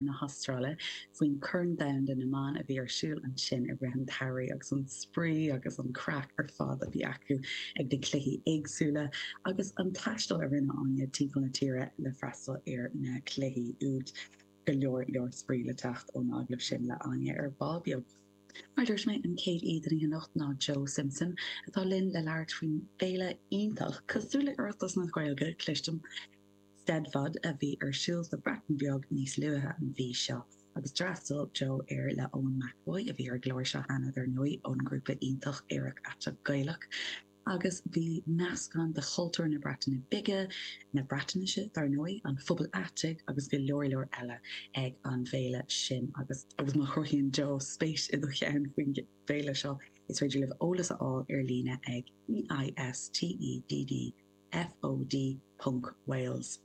Na hAstráile faoin Chorn Domhanda na mBan a bhí ar siúl ansin i rith an tsamhraidh agus an spraoi agus an craic ar fad a bhí acu ag na cluichí éagsúla agus an taisteal a rinne Áine timpeall na tíre le freastal ar na cluichí úd. Go leor leor spraoi le teacht ón agallamh sin le Áine ar ball beag. Mar a dúirt mé, an chéad aoi den oíche anocht ná Joe Simpson atá linn le labhairt faoin bhféile iontach, cosúil le Oireachtas na Gaeilge, cloistim, Steddfod a bhí ar siúl sa Bhreatain Bheag níos luaithe an mhí seo, agus d'fhreastail Joe air le Eoin McEvoy, a bhí ar an gclár seo cheana, dar ndóigh, ón ngrúpa iontach Aerach Aiteach Gaelach. Agus bhí meascán de chultúr na Breataine Bige, na Breatnaise, dar ndóigh, an phobail aitigh agus go leor leor eile ag an bhféile sin. Agus agus má chruthaíonn Joe spéis i do cheann faoin bhféile seo, is féidir libh eolas a fháil ar líne ag EISTEDD. FOD ponc Wales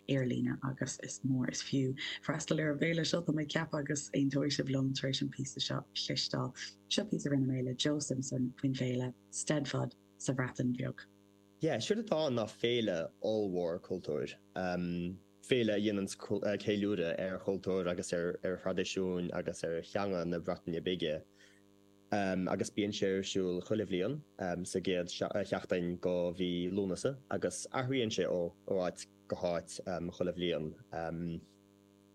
ar líne agus is mór is fiú freastal ar an bhféile seo, tá mé ag ceapadh, agus aontóidh sibh liom tar éis an píosa seo a chloisteáil. Seo píosa a rinne mé le Joe Simpson faoin bhféile Steddfod sa Bhreatain Bheag. Yeah, séard atá ann ná féile ollmhór cultúir. Féile a dhéananns ceiliúradh ar chultúr agus ar thraidisiúin agus ar theanga na Breataine Bige. agus bíonn sé ar siúl chuile bhliain sa gcéad sheachtain go mhí Lúnasa agus athraíonn sé ó áit go háit chuile bhliain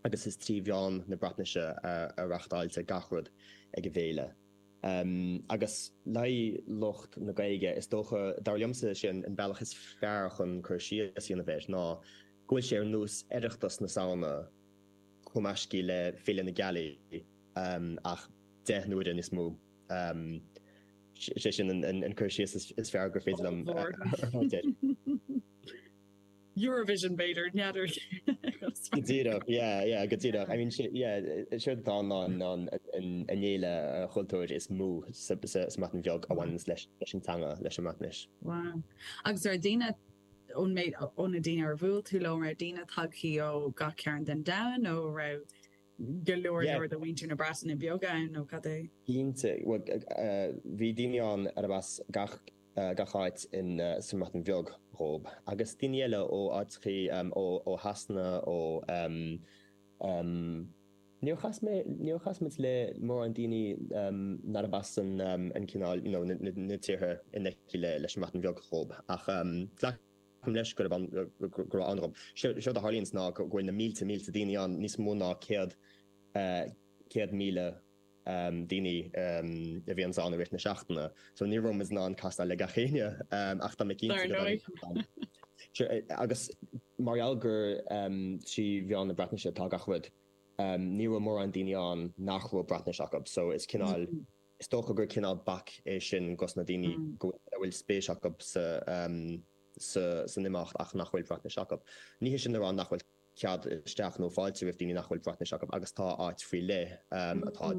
agus is trí mheán na Breatnaise a reachtáiltear gach rud ag an bhféile. Agus le haghaidh lucht na Gaeilge, is dócha, dar liomsa, sé an bealach is fearr chun cur síos a dhéanamh air ná go bhfuil sé ar nós Oireachtas na Samhna cumaiscthe le Féile na Gealaí ach 10 n-uaire níos mó. Sé sin an cur síos is fearr gur féidir liom a thabhairt air. Eurovision b'fhéidir, n'fheadar. Go díreach, yeah, yeah, go díreach. I mean, yeah, séard atá ann ná an fhéile chultúir is mó sa mBreatain Bheag a bhaineanns leis an teanga, leis an mBreatnais. Wow. Agus raibh daoine, ón méid, ó na daoine ar bhuail tú leo, an raibh daoine tagthaí ó gach cearn den domhan nó raibh go leor leor de mhuintir na Breataine Bige ann nó cad é? Cinnte. Bhuel, bhí daoine ann arb as gach gach áit in sa mBreatain Bheag dhób, agus daoine eile ó áiteachaí ó Shasana, ó Níor chas mé, níor chas muid le mórán daoine nárab as an an cineál, you know, na tíortha in aice le leis an mBreatain Bheag dhób, ach ghlac Glacaim leis go raibh go raibh ann dhób. Séard a tharlaíonns ná go bhfuil na mílte mílte daoine ann, níos mó ná 100,000 daoine a bhíonns ann i rith na seachtaine. So ní raibh muid in ann castáil le gach éinne ach tá mé cinnte go dtáinig Agus mar gheall gur trí mheán na Breatnaise atá gach rud, ní raibh mórán daoine ann nach raibh Breatnais acu. So is cineál, is dócha gur cineál bac é sin dos na daoine go a bhfuil spéis acu sa san imeacht ach nach bhfuil Breatnais acu. Ní hé sin le rá nach bhfuil cead isteach nó fáilte roimh daoine nach bhfuil Breatnais acu agus tá áit faoi leith atá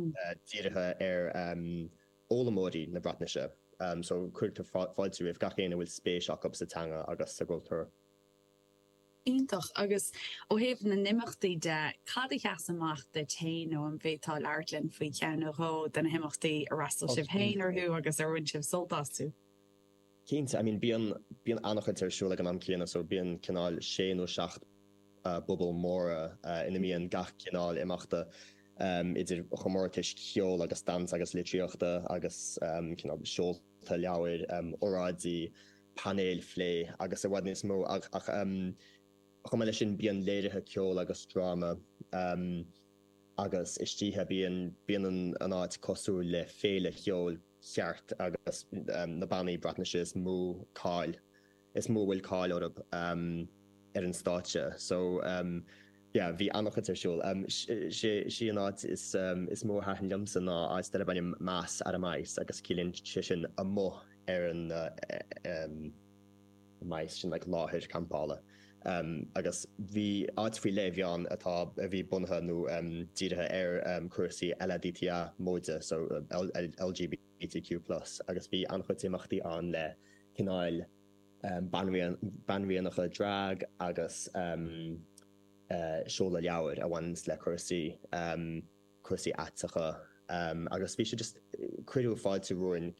dírithe ar fhoghlaimeoirí na Breatnaise so cuirtear fáilte roimh gach éinne a bhfuil spéis acu sa teanga agus sa gcultúr. Iontach. Agus ó thaobh na n-imeachtaí de, cad a sheas amach duit féin nó an bhféadfá labhairt linn faoi cheann nó dhó de na himeachtaí ar fhreastail sibh féin orthu agus ar bhain sibh sult astu? Cinnte, I mean bíonn, bíonn an-chuid ar siúl ag an am céanna so bíonn cineál sé nó seacht bpuball móra ina mbíonn gach cineál imeachta idir chomórtais cheoil agus damhsa agus litríochta agus cineál seolta leabhair, óráidí, painéil phlé agus i bhfad níos mó ach chomh maith leis sin bíonn léirithe ceoil agus dráma agus istoíche bíonn, bíonn an áit cosúil le féile cheoil cheart agus na bannaí Breatnaise is mó cáil, is mó a bhfuil cáil orthu ar an stáitse. So yeah, bhí an-chuid ar siúl. Sí an áit is is mó a thaitin liomsa ná áit darb ainm Mas ar y Maes agus ciallaíonn sé sin amuigh ar an maes, sin like láthair campála. Agus bhí áit faoi leith a bhí ann atá, a bhí bunaithe nó dírithe ar cúrsaí LADTA móide, so LGBTQ plus, agus bhí an-chuid imeachtaí ann le cineáil banríonacha drag agus seoladh leabhair a bhaineanns le cúrsaí. cúrsaí aiteacha agus bhí sé just, cuireadh fáilte romhainn,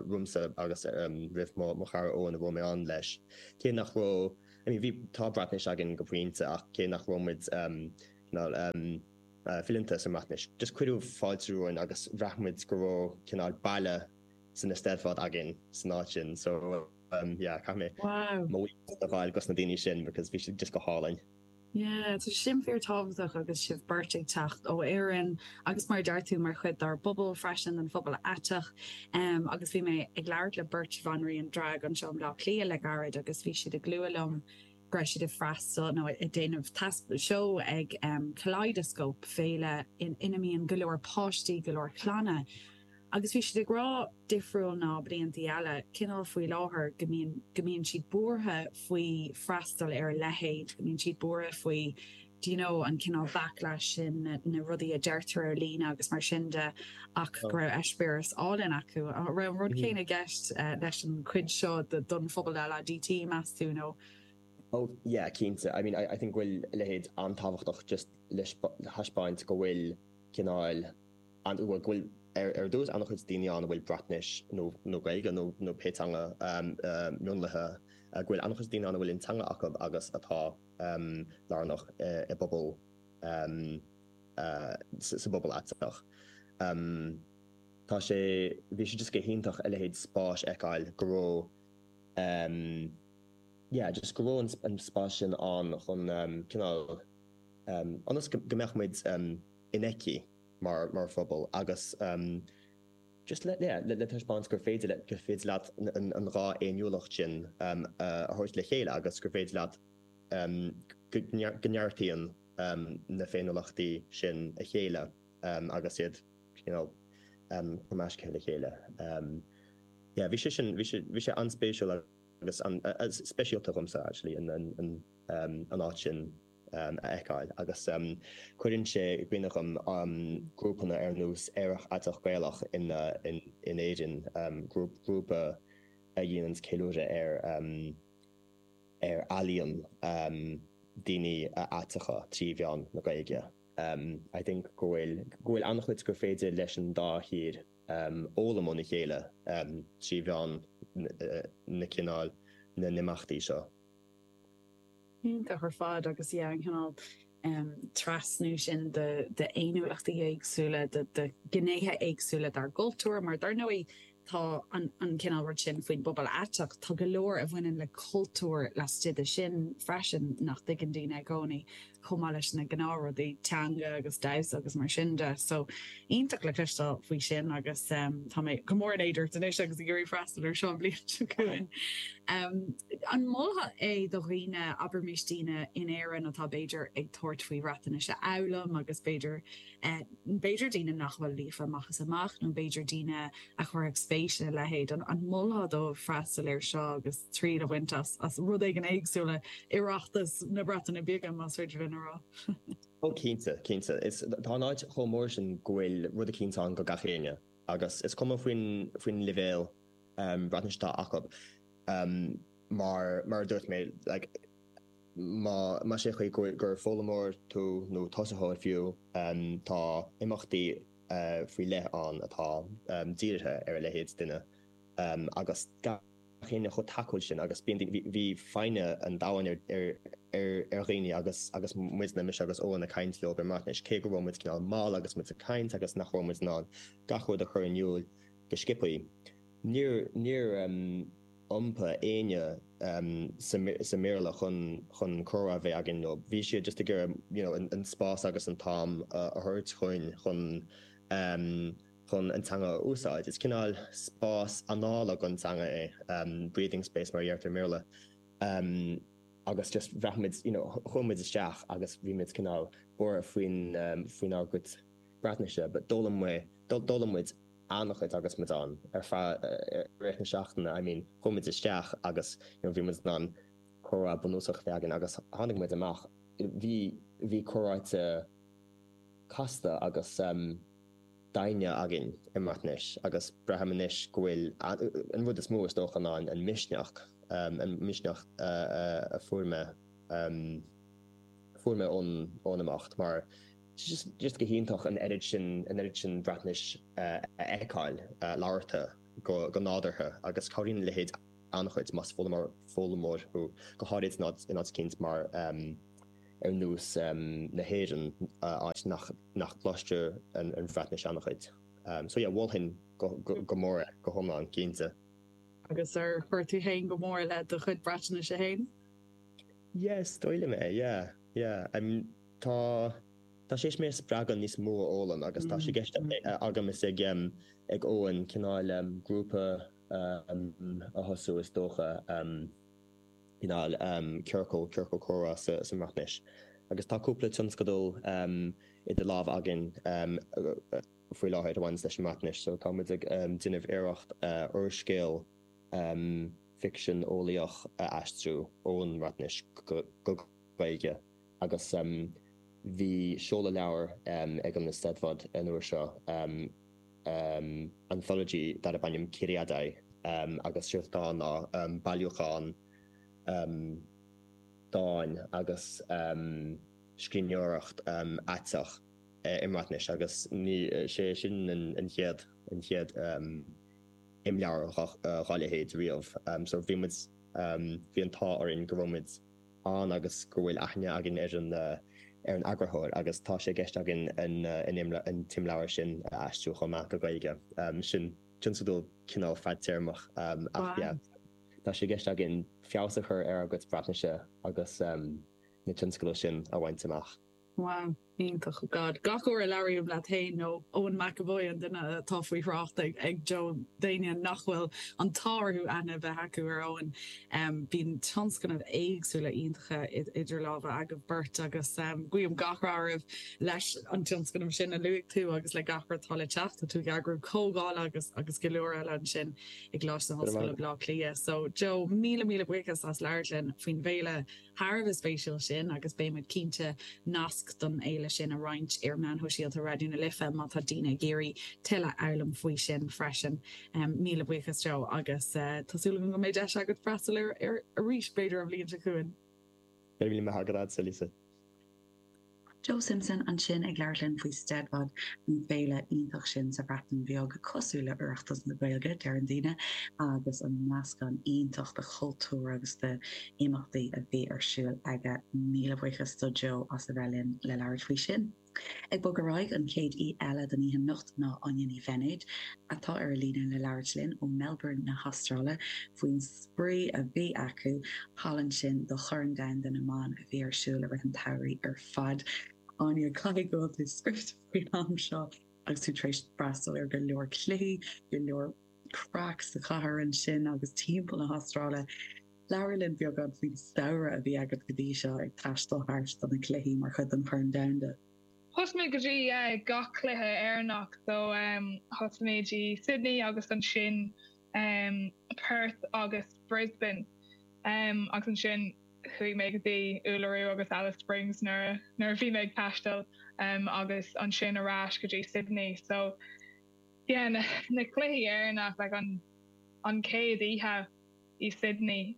romhamsa agus roimh mo chara Eoin a raibh mé ann leis. Cé nach raibh, I mean bhí, tá Breatnais againn go pointe ach cé nach raibh muid. cineál fileanta sa mBreatnais. Just cuireadh fáilte romhainn agus bhraith muid go raibh cineál baile san Eisteddfod againn san áit sin. So yeah, caithfidh mé mo bhuíochas a ghabháil dos na daoine sin because bhí siad just go hálainn. Yeah, tá sin fíor tábhachtach agus sibh beirt ag teacht ó Éirinn agus mar a deir tú mar chuid dár bpobal freisin, den phobal aiteach. Agus bhí mé ag labhairt le beirt bhanríon drag anseo i mBleá Cliath le gairid agus bhí siad ag lua liom go raibh siad ag freastal nó ag déanamh seó ag Kaleidoscope, féile ina mbíonn go leor páistí, go leor clanna. Agus bhí siad ag rá, difriúil ná bliantaí eile, cineál faoi láthair, go mbíonn, go mbíonn siad buartha faoi freastal ar a leithéid, go mbíonn siad buartha faoi, do you know, an cineál backlash sin, na, na rudaí a deirtear ar líne agus mar sin de, ach go raibh eispéireas álainn acu. An raibh an rud céanna i gceist leis an chuid seo don phobal LADT, meas tú, nó? Oh yeah, cinnte. I mean, I, I think go bhfuil a leithéid an-tábhachtach just le thaispeáint go bhfuil cineál, an bhfuil go bhfuil ar dtús an-chuid daoine ann a bhfuil Breatnais nó nó Gaeilge nó nó pé teanga mionlaithe go bhfuil an-chuid daoine ann a bhfuil an teanga acu agus atá lárnach i bpobal sa bpobal aiteach. Tá sé bhí sé just go hiontach a leithéid spáis a fheiceáil go raibh yeah just go raibh an spás sin ann chun cineál ionas go mbeadh muid infheicthe mar mar phobal agus just le yeah le taispeáint gur féidir le gur féidir leat an dá fhéiniúlacht sin a thabhairt le chéile agus gur féidir leat go neartaíonn na féiniúlachtaí sin a chéile agus iad you know cumaiscthe le chéile. Yeah bhí sé sin bhí sé bhí sé an-spéisiúil agus an-speisialta dhomsa actually an an an áit sin. a fheiceáil agus cuireann sé i gcuimhne dhom grúpanna ar nós Aerach Aiteach Gaelach in Éirinn, grúpa a dhéananns ceiliúradh ar ar ealaíon daoine aiteacha trí mheán na Gaeilge. I think go bhfuil go bhfuil an-chuid gur féidir leis an dá thír fhoghlaim óna chéile trí mheán na cineál na n-imeachtaí seo. Iontach ar fad agus yeah an cineál trasnú sin de d'fhéiniúlachtaí éagsúla, de de ghnéithe éagsúla dár gcultúr mar dar ndóigh tá an an cineál rud sin faoin bpobal aiteach, tá go leor a bhaineann le cultúr laistigh de sin freisin nach dtuigeann daoine i gcónaí chomh maith leis na gnáthrudaí, teanga agus damhsa agus mar sin de. So iontach le cloisteáil faoi sin agus tá mé go mór in éad ort anois agus ag iarraidh freastal ar seo an bhliain seo chugainn. An molfá é do dhaoine, abraimis daoine in Éirinn atá b'fhéidir ag tabhairt faoi Bhreatnais a fhoghlaim agus b'fhéidir, b'fhéidir daoine nach bhfuil líofa amach is amach nó b'fhéidir daoine a chuirfeadh spéis ina leithéid, an molfá dóibh freastal air seo agus triail a bhaint as, as rud éigin éagsúil i Oireachtas na Breataine Bige, más féidir linn a rá? Ó cinnte, cinnte. Is, tá an áit chomh mór sin go bhfuil rud eicínt ann go gach éinne agus is cuma faoin, faoin leibhéal Breatnais atá acu. Mar, mar a dúirt mé, like, má, más é an chaoi go, gur foghlaimeoir tú nó tosaitheoir fiú, tá imeachtaí faoi leith ann atá dírithe ar a leithéid duine agus gach éinne chomh tacúil sin agus bíonn daoine, bhí foighne an domhain ar ar dhaoine agus agus muidne, mise agus Eoin ag caint leo i mBreatnais, cé go raibh muid cineál mall agus muid ag caint agus nach raibh muid in ann gach rud a chur in iúl go sciobthaí. Níor, níor iompaigh éinne sa mBéarla chun, chun comhrá a bheith againn leo. Bhí siad just ag iarraidh you know an spás agus an t-am a thabhairt chugainn chun, chun an teanga a úsáid. Is cineál spás anála don teanga é, breathing space mar a deirtear i mBéarla. Agus just bhraith muid, you know, chuaigh muid isteach agus bhí muid cineál buartha faoin, faoinár gcuid Breatnaise but d'fhoghlaim mé, d'fhoghlaim muid an-chuid agus muid ann ar feadh i rith na seachtaine, I mean chuaigh muid isteach agus you know bhí muid in ann comhrá bunúsach a bheith againn agus tháinig muid amach, bhí, bhí comhráite casta agus doimhne againn i mBreatnais agus braithim anois go bhfuil, an rud is mó is dócha ná an misneach, an misneach a fuair mé, fuair mé ón, ón imeacht mar Just just go hiontach an oiread sin an oiread sin Breatnais a fheiceáil labhartha go go nádúrtha agus cabhraíonn a leithéid an-chuid más foghlaimeoir foghlaimeoir thú, go háirid in áit in áit eicínt mar. ar nós na hÉireann, áit nach nach gcloistear an Bhreatnais an-chuid. So yeah, mholfainn go mór é, go hiomlán, cinnte. Agus ar chuir tú féin go mór le do chuid Breatnaise féin? Yeah, is dóigh liom é, yeah, yeah. I mean, tá tá sé théis mé a spreagadh níos mó a fhoghlaim agus tá sé i gceist agam is ag ag Eoin cineál grúpa a thosú is dócha. cineál ciorcal, ciorcal comhrá sa mBreatnais. Agus tá cúpla tionscadal idir lámha againn faoi láthair a bhaineanns leis an mBreatnais. So tá muid ag déanamh iarracht úrscéal ficsean eolaíoch a aistriú ón mBreatnais go Gaeilge agus bhí seoladh leabhair ag an Eisteddfod an uair seo, anthology darb ainm Curiadau agus séard atá ann ná bailiúchán dáin agus scríbhneoireacht aiteach i mBreatnais agus ní sé sin an chéad an chéad imleabhar dá leithéid riamh so bhí muid bhí an t-ádh orainn go raibh muid ann agus go bhfuil aithne againn ar an ar an eagarthóir agus tá sé i gceist againn an an t-imleabhar sin a aistriú chomh maith go Gaeilge. Sin tionscadal cineál fadtéarmach ach yeah tá sé i gceist againn feabhas a chur ar ár gcuid Breatnaise agus na tionscadail sin a bhaint amach. Wow. Iontach. God. Gach uair a labhraím leat féin nó Eoin McEvoy, an duine atá faoi thrácht ag Joe, d'éinne nach bhfuil an t-ádh orthu aithne a bheith acu ar Eoin, bíonn tionscnaimh éagsúla iontacha idir lámha agaibh beirt agus guím gach rath oraibh leis an tionscnamh sin a luaigh tú agus le gach rud atá le teacht. Tá tú ag eagrú comhdhála agus agus go leor eile ansin i gColáiste na hOllscoile Baile Átha Cliath. So Joe, míle míle buíochas as labhairt linn faoin bhféile. thar a bheith spéisiúil sin agus beidh muid cinnte nasc don fhéile sin a roinnt ar mheáin shóisialta Raidió na Life má tá daoine ag iarraidh tuilleadh a fhoghlaim faoi sin freisin. Míle buíochas Joe agus tá súil agam go mbeidh deis agat freastal air arís b'fhéidir an bhliain seo chugainn. Go raibh míle maith agat Lisa. Lisa. Joe Simpson ansin ag labhairt linn faoi Steddfod, an féile iontach sin sa Bhreatain Bheag, cosúil le Oireachtas na Gaeilge, deireann daoine, agus an meascán iontach de chultúr agus de imeachtaí a bhí ar siúl aige. Míle buíochas do Joe as a bheith linn le labhairt faoi sin. Ag bogadh ar aghaidh, an chéad aoi eile don oíche anocht ná Áine Ní Bheinéid, atá ar an líne le labhairt linn ó Melbourne na hAstráile faoin spraoi a bhí acu thall ansin do Chorn Domhanda na mBan a bhí ar siúl i rith an tsamhraidh ar fad. Áine, caithfidh go bhfuil tú scriosta faoin am seo agus tú tar éis freastal ar go leor cluichí, go leor craic sa chathair ansin agus timpeall na hAstráile. Labhair linn beagán faoin samhradh a bhí agat go dtí seo ag taisteal thart do na cluichí mar chuid den Chorn Domhanda. Thosaigh mé go dtí gach cluiche Éireannach so thosaigh mé i Sydney agus ansin Perth agus Brisbane agus ansin chuaigh mé go dtí Uluru agus Alice Springs nuair nuair a bhí mé ag taisteal agus ansin ar ais go dtí Sydney so yeah na na cluichí Éireannach like an an chéad oíche i Sydney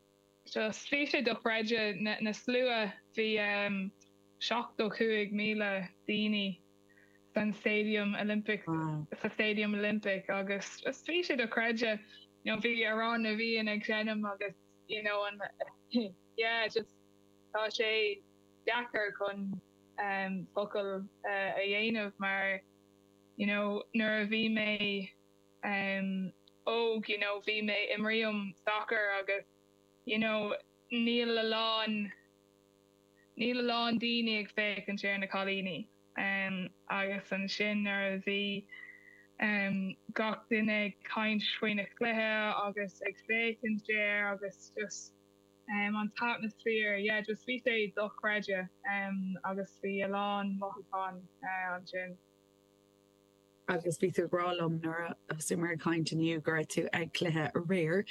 just bhí sé dochreidte na na slua bhí 75,000 daoine san Stadium Olympic sa Stadium Olympic agus just bhí sé dochreidte you know bhí Amhrán na bhFiann ag seinm agus you know an yeah just tá sé deacair chun um focal a dhéanamh mar you know nuair a bhí mé um óg you know bhí mé imrím soccer agus you know níl a lán Níl a lán daoine ag féachaint ar na cailíní agus ansin nuair a bhí gach duine ag caint faoi na cluiche agus ag féachaint air agus just an t-atmaisféar, yeah just bhí sé dochreidte agus bhí a lán mothúchán ansin. Agus bhí tú ag rá liom nuair a thosaíomar ag caint inniu go raibh tú ag cluiche aréir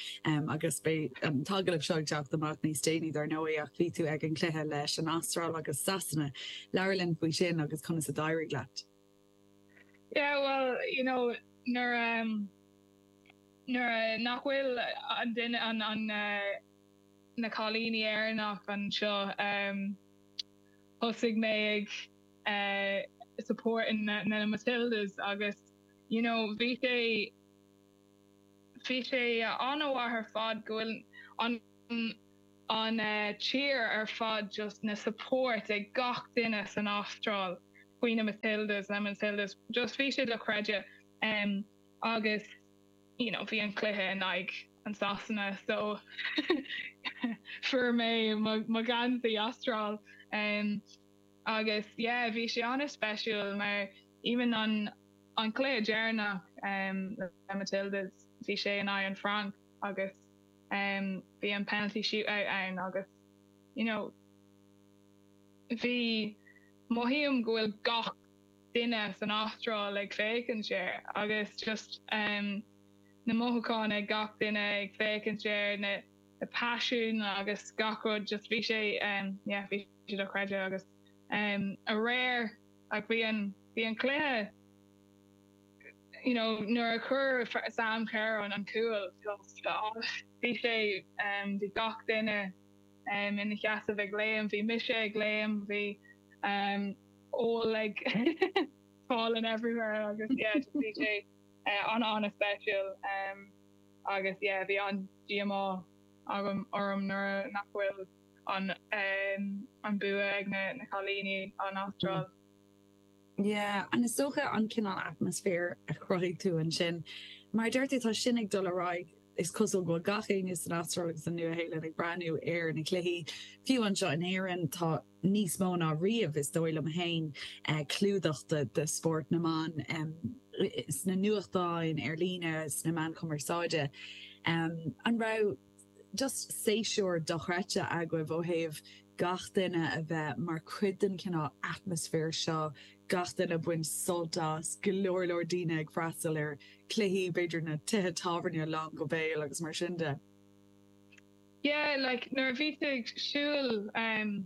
agus beidh an t-agallamh seo ag teacht amach níos déanaí dar ndóigh ach bhí tú ag an cluiche leis an Astráil agus Sasana. Labhair linn faoi sin agus conas a d'éirigh leat. Yeah well you know nuair um nuair nach bhfuil an duine an an na cailíní Éireannach anseo um thosaigh mé ag supporting na na Matildas agus you know bhí sé bhí sé an-mhaith ar fad go bhfuil an. An tír ar fad just na support ag gach duine san Astráil faoi na Matildas, na Matildas just bhí sé dochreidte agus you know bhí an cluiche in aghaidh an Sasana so fuair mé mo gheansaí Astráil agus yeah bhí sé an-speisiúil mar even an an cluiche deireanach le Matildas bhí sé in aghaidh an Frainc agus bhí an penalty shootout ann agus you know bhí, mothaím go bhfuil gach duine san Astráil ag féachaint air agus just na mothúcháin ag gach duine ag féachaint air, na paisean agus gach rud just bhí sé yeah bhí sé dochreidte agus aréir like bhí an bhí an cluiche you know nuair a chuir Sam Kerr an an cúl just bhí sé bhí gach duine ina sheasamh ag léim, bhí mise ag léim, bhí ól ag falling everywhere agus yeah just bhí sé an-an-speisiúil agus yeah bhí an-díomá agam orm nuair nach bhfuil an an bua ag na na cailíní an Astráil. Yeah, and is dócha an cineál atmaisféar a chruthaigh tú ansin, mar a deir tú, tá sin ag dul ar aghaidh, is cosúil go bhfuil gach éinne san Astráil agus an Nua-Shéalainn ag breathnú ar na cluichí. Fiú anseo in Éirinn, tá níos mó ná riamh, is dóigh liom féin, clúdach de spórt na mban sna nuachtáin, ar líne, sna meáin chumarsáide. An raibh just séasúr dochreidte agaibh ó thaobh gach duine a bheith mar chuid den chineál atmaisféar seo, gach duine ag baint sult as, go leor leor daoine ag freastal ar chluichí, b'fhéidir na tithe tábhairne lán go béal agus mar sin de. Yeah, like nuair a bhí tú ag siúl um,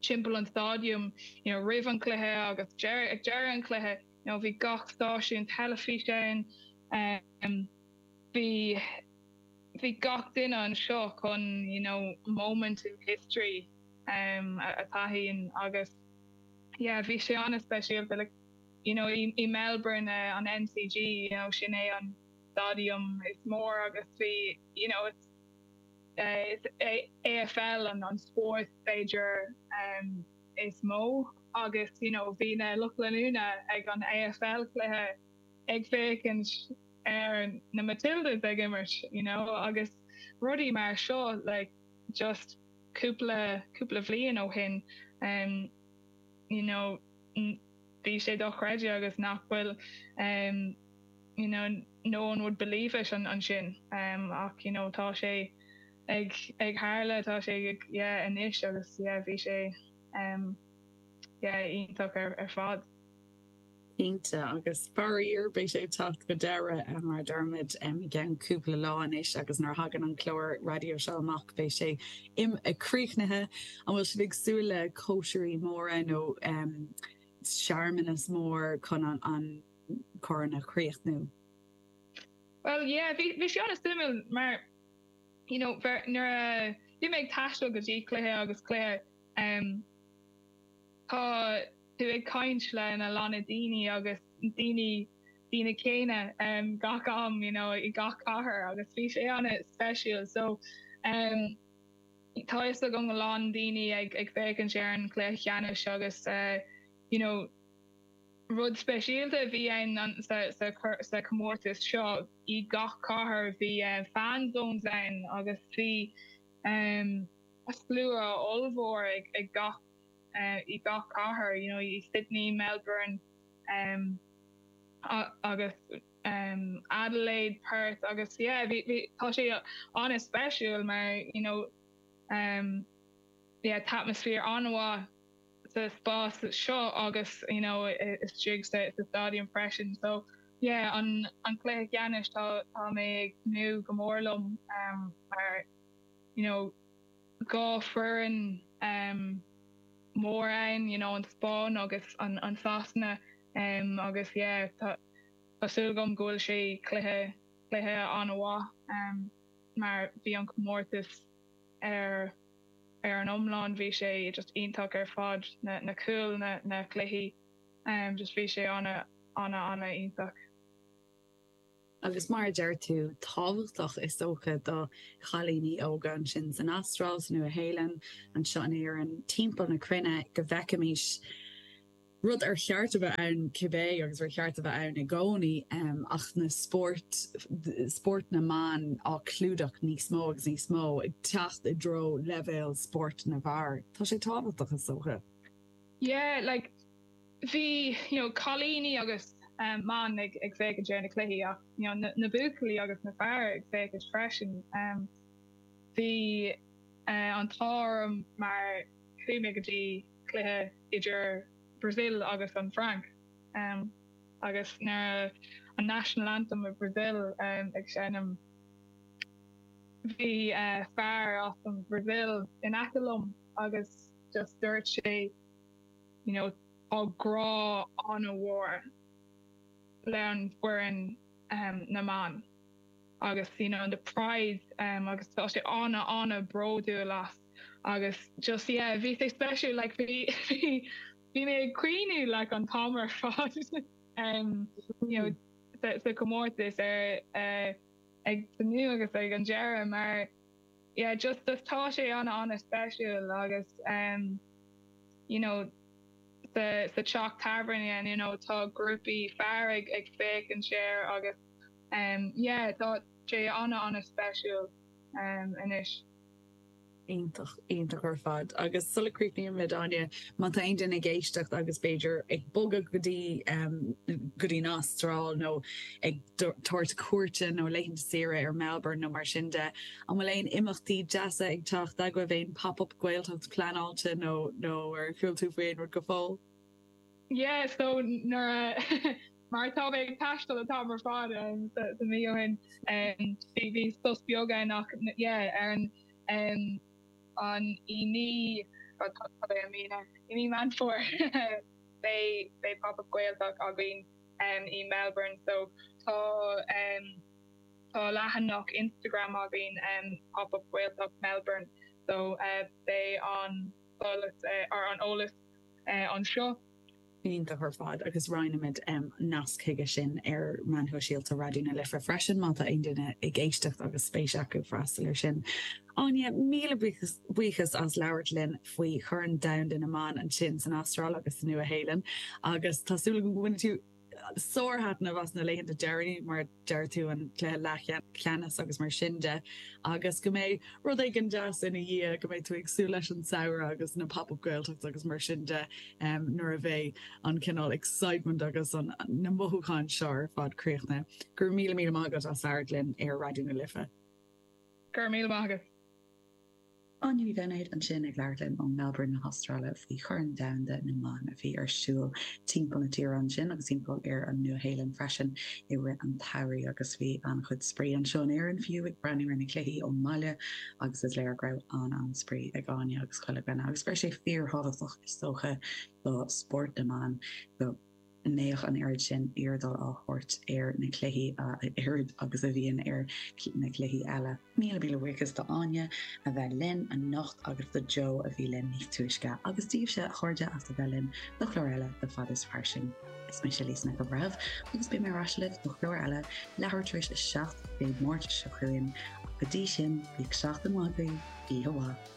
timpeall an stadium, you know, roimh an cluiche agus ag deireadh an chluiche, you know, bhí gach stáisiún teilifíse ann, um, bhí bhí gach duine anseo chun you know moment in history um, a taithí agus yeah bhí sé an-speisialta like you know i, i Melbourne uh, an MCG you know sin é an stadium is mór agus bhí you know it's uh, is AFL an an spórt b'fhéidir um, is mó agus you know bhí na lucht leanúna ag an AFL cluiche ag féachaint ar na Matildas ag imirt you know agus rudaí mar seo like just cúpla cúpla bhliain ó shin um, you know bhí sé dochreidte agus nach bhfuil um, you know no one would believe it an ansin um, ach you know tá sé ag ag tharla tá sé ag yeah anois agus yeah bhí sé um, yeah iontach ar, ar fad. Cinnte, agus faraor beidh sé ag teacht go deireadh, mar a deirimid, i gceann cúpla lá anois agus nuair a thagann an clár raidió seo amach beidh sé críochnaithe. An bhfuil sibh ag súil le cóisirí móra nó searmanas mór chun an corn a chríochnú? Bhuel, yeah, bhí sé an-suimiúil mar, you know, nuair a bhí mé ag taisteal go dtí cluiche agus cluiche, tá, tú ag caint le na lán daoine agus daoine daoine céanna um, gach am you know, i gach cathair agus bhí sé an-speisialta so um, tá fhios agam a lán daoine ag ag féachaint ar an chluiche ceannais agus uh, you know, rud speisialta a bhí ann an, sa, sa, sa comórtas seo i gach cathair bhí uh, fan zones ann agus bhí um, slua ollmhór ag, ag gach i gach cathair, you know, i Sydney, Melbourne um, agus um, Adelaide, Perth agus yeah, bhí, bhí, tá sé an-speisiúil mar you know, um, yeah, tá atmaisféar an-mhaith sa spás seo agus you know, istigh sa, sa stadium freisin. So yeah, an, an cluiche ceannais tá, tá mé ag tnúth go mór liom um, mar you know, 2 foireann mór ann, you know an Spáinn agus an an Sasana agus yeah tá tá súil agam go bhfuil sé cluiche cluiche an-mhaith mar bhí an comórtas ar ar an iomlán bhí sé just iontach ar fad na na cúil na na cluichí just bhí sé ana ana ana iontach. Agus mar a deir tú, tábhachtach is dócha do chailíní óga ansin san Astráil, sa Nua-Shéalainn, anseo in Éirinn, timpeall na cruinne, go bhfeicfimis rud ar cheart a bheith ann cibé agus ar cheart a bheith ann i gcónaí, ach na spóirt, spórt na mban á clúdach níos mó agus níos mó, ag teacht i dtreo leibhéal spórt na bhfear. Tá sé tábhachtach is dócha. Yeah, like, bhí, you know, cailíní agus mban ag ag féachaint ar na cluichí ach, you know, na na buachaillí agus na fear ag féachaint freisin. Bhí an t-ádh orm mar chuaigh mé go dtí cluiche idir Brazil agus an Fhrainc agus nuair a an National Anthem of Brazil ag seinm bhí fear as an Brazil in aice liom agus just dúirt sé you know tá grá an-mhór le an foireann na mban agus you know the pride agus tá sé ana ana bródúil as agus just yeah bhí sé speisiúil like bhí bhí bhí mé ag caoineadh like an t-am ar fad um you know sa sa comórtas ar uh, ag tosnú agus ag an deireadh mar yeah just just tá sé ana ana speisiúil agus um you know sa sa teach tábhairne you know tá grúpaí fear ag ag féachaint air agus um yeah tá sé ana ana speisiúil um anois. Iontach, iontach ar fad. Agus sula gcríochnaímid, Áine, má tá aon duine ag éisteacht agus b'fhéidir ag bogadh go dtí, go dtí an Astráil nó ag tabhairt cuairte nó laethanta saoire ar Melbourne nó mar sin de, an bhfuil aon imeachtaí deasa ag teacht agaibh, aon pop-up Gaeltacht pleanáilte nó, nó ar chuala tú faoi aon rud go fóill? Yeah, so nuair a mar tá mé ag taisteal an t-am ar fad sa mí ó shin bhí bhí sos beag ann ach yeah ar an an i mí tá mé i mí na i mí Meán Fómhair beidh beidh pop up Gaeltacht againn i Melbourne so tá tá leathanach Instagram againn pop up Gaeltacht Melbourne so beidh an solas or an eolas anseo. Iontach ar fad agus roinnfimid nasc chuige sin ar meáin shóisialta Raidió na Life freisin má tá aon duine ag éisteacht agus spéis acu freastal air sin. Áine, míle buíochas as labhairt linn faoi Chorn Domhanda na mBan ansin san Astráil agus sa Nua-Shéalainn agus tá súil agam go mbainfidh tú sárthaitneamh as na laethanta deireanaí, mar a deir tú, an cluiche leathcheannais agus mar sin de, agus go mbeidh rud éigin deas ina dhiaidh, go mbeidh tú ag súil leis an samhradh agus na Pop-Up Gaeltachts agus mar sin de nuair a bheidh an cineál excitement agus an na mothúcháin seo ar fad críochnaithe. Go raibh míle míle maith agat as labhairt linn ar Raidió na Life. Go raibh míle maith agat. Áine Ní Bheinéid ansin ag labhairt linn ó Melbourne na hAstráile faoi Chorn Domhanda na mBan a bhí ar siúl timpeall na tíre ansin agus timpeall ar an Nua-Shéalainn freisin i rith an tsamhraidh agus bhí an-chuid spraoi anseo in Éirinn fiú ag breathnú ar na cluichí ón mbaile agus is léir go raibh an-an-spraoi ag Áine agus chuile dhuine agus go raibh sé fíorthábhachtach is dócha do spórt na mban go mbeadh an oiread sin airdeall á thabhairt ar na cluichí a oiread agus a bhíonn ar na cluichí eile. Míle míle buíochas do Áine a bheith linn anocht agus do Joe a bhí linn níos túisce agus daoibhse a chairde as a bheith linn do chlár eile de Fada is Fairsing. Is mise Lisa Nic an Bhreithimh agus beidh mé ar ais libh do chlár eile leathuair tar éis a 7 Dé Máirt seo chugainn ach go dtí sin, bíodh seachtain mhaith agaibh, oíche mhaith.